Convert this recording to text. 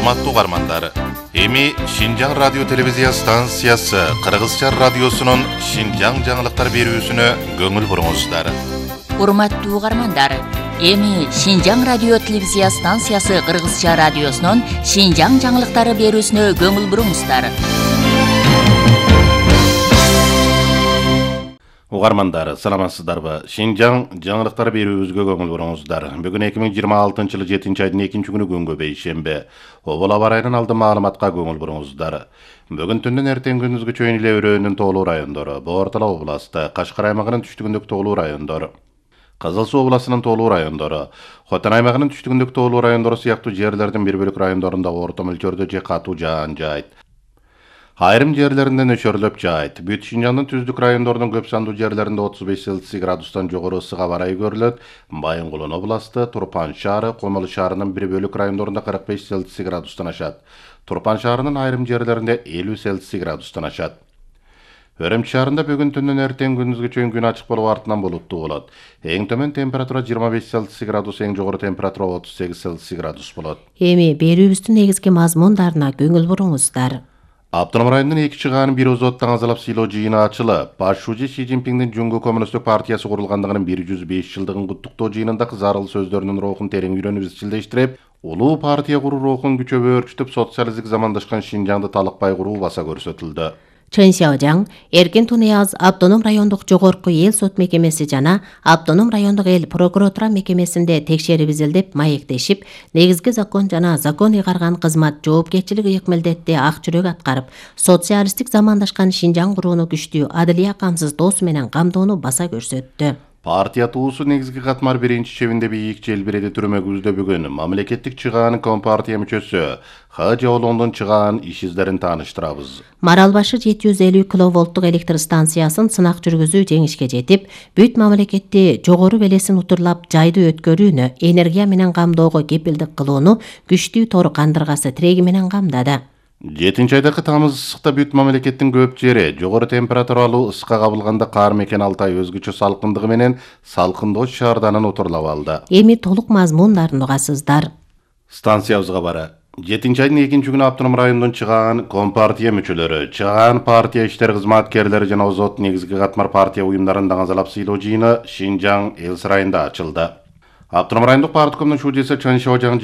Урматтуу угармандар, эми Шинжаң радио телевизия станциясы Кыргызча радиосунун Шинжаң жаңылыктар берүүсүнө көңүл буруңуздар. Урматтуу угармандар, эми Шинжаң радио телевизия станциясы Кыргызча радиосунун Шинжаң жаңылыктары берүүсүнө көңүл буруңуздар. Угармандар, саламатсыздарбы? Шинжаң жаңылыктар берүүбүзгө көңүл буруңуздар. Бүгүн 2026-жылы 7-айдын 2-күнү күнгө бейшемби. Обол аба ырайынын алды маалыматка көңүл буруңуздар. Бүгүн түндөн эртең күндүзгү чейин эле өрөөнүн тоолуу райондору, Боор-Тала областы, Кашкар аймагынын түштүгүндөгү тоолуу райондору, Кызыл Суу областынын тоолуу райондору, Хотон аймагынын түштүгүндөгү тоолуу райондору сыяктуу жерлердин бир бөлүк райондорунда орто мөлчөрдө же катуу жаан жаайт. Айрым жерлеринде нөчөрлөп жаайт. Бүт Шинжаңдын түздүк райондорунун көп сандуу жерлеринде 35 Цельсий градустан жогору ысык аба ырайы көрүлөт. Байынгулун областы, Турпан шаары, Комол шаарынын бир бөлүк райондорунда 45 Цельсий градустан ашат. Турпан шаарынын айрым жерлеринде 50 Цельсий градустан ашат. Өрөмчү шаарында бүгүн түндөн эртең күндүзгү чейин күн ачык болуп артынан булуттуу болот. Эң төмөн температура 25 Цельсий градус, эң жогору температура 38 Цельсий градус болот. Эми берүүбүздүн негизги мазмундарына көңүл буруңуздар. Автоном районунун 2 чыгаанын бир озоттан азалап сыйлоо жыйыны ачылып, Башчы Си Цзиньпиндин Жумгу Коммунисттик партиясы курулгандыгынын 105 жылдыгын куттуктоо жыйынында зарыл сөздөрүнүн рухун терең үйрөнүп изчилдештирип, улуу партия куруу рухун күчөп өөрчүтүп, социалисттик замандашкан Шинжаңды талыкпай куруу баса көрсөтүлдү. Чын Сяожаң, Эркин Тунияз Автоном райондук жогорку эл сот мекемеси жана Автоном райондук эл прокуратура мекемесинде текшерип изилдеп, маектешип, негизги закон жана закон ыйгарган кызмат жоопкерчилиги ыйык ак жүрөк аткарып, социалисттик замандашкан Шинжаң курууну күчтүү, адылия камсыздоосу менен камдоону баса көрсөттү. Партия туусу негизги катмар биринчи чебинде бийик желбиреди түрмөгүбүздө бүгүн мамлекеттик чыгаанын Компартия мүчөсү Ха Жолондун чыгаан иш издерин тааныштырабыз. Маралбашы 750 киловолттук электр станциясын сынак жүргүзүү жеңишке жетип, бүт мамлекетти жогору белесин утурлап жайды өткөрүүнү, энергия менен камдоого кепилдик кылууну күчтүү тор кандыргасы тиреги менен камдады. 7-айдагы тамыз ысыкта бүт мамлекеттин көп жери жогору температуралуу ысыкка кабылганда каар мекен Алтай өзгөчө салкындыгы менен Салкындоочу шаарданын утурлап алды. Эми толук мазмундарын угасыздар. Станциябызга бара. 7-айдын 2-күнү Автоном районунун чыгаан Компартия мүчөлөрү, чыгаан партия иштер кызматкерлери жана озот негизги катмар партия уюмдарын даңазалап сыйлоо жыйыны Шинжаң эл сарайында ачылды. Автоном райондук парткомдун шудесі Чын Сяожаң